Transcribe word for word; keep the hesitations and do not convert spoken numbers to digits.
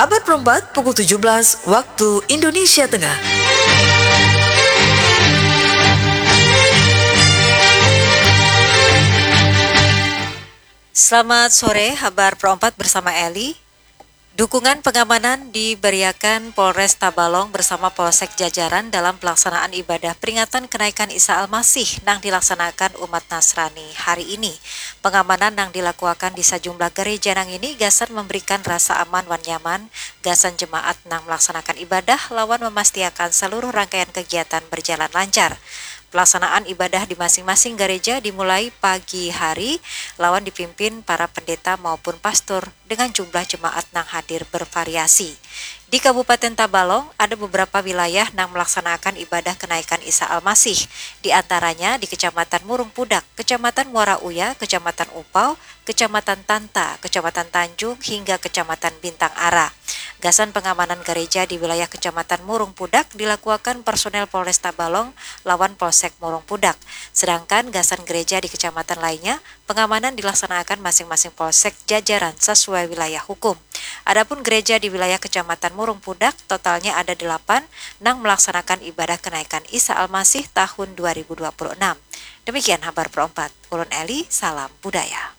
Abad perempat, pukul tujuh belas waktu Indonesia Tengah. Selamat sore, Habar Pro empat bersama Eli. Dukungan pengamanan diberiakan Polres Tabalong bersama Polsek jajaran dalam pelaksanaan ibadah peringatan kenaikan Isa Al-Masih nang dilaksanaakan umat Nasrani hari ini. Pengamanan nang dilakuakan di sajumlah gereja nang ini gasan memberikan rasa aman wan nyaman gasan jemaat nang melaksanakan ibadah lawan memastiakan seluruh rangkaian kegiatan berjalan lancar. Pelaksanaan ibadah di masing-masing gereja dimulai pagi hari lawan dipimpin para pendeta maupun pastor dengan jumlah jemaat nang hadir bervariasi. Di Kabupaten Tabalong, ada beberapa wilayah nang melaksanakan ibadah kenaikan Isa Al-Masih, di antaranya di Kecamatan Murung Pudak, Kecamatan Muara Uya, Kecamatan Upau, Kecamatan Tanta, Kecamatan Tanjung, hingga Kecamatan Bintang Ara. Gasan pengamanan gereja di wilayah Kecamatan Murung Pudak dilakuakan personel Polres Tabalong lawan Polsek Murung Pudak. Sedangkan gasan gereja di kecamatan lainnya, pengamanan dilaksanakan masing-masing polsek jajaran sesuai wilayah hukum. Adapun gereja di wilayah Kecamatan Murung Pudak, totalnya ada delapan nang melaksanakan ibadah kenaikan Isa Al-Masih tahun dua ribu dua puluh enam. Demikian Habar Pro empat. Ulun Eli, salam budaya.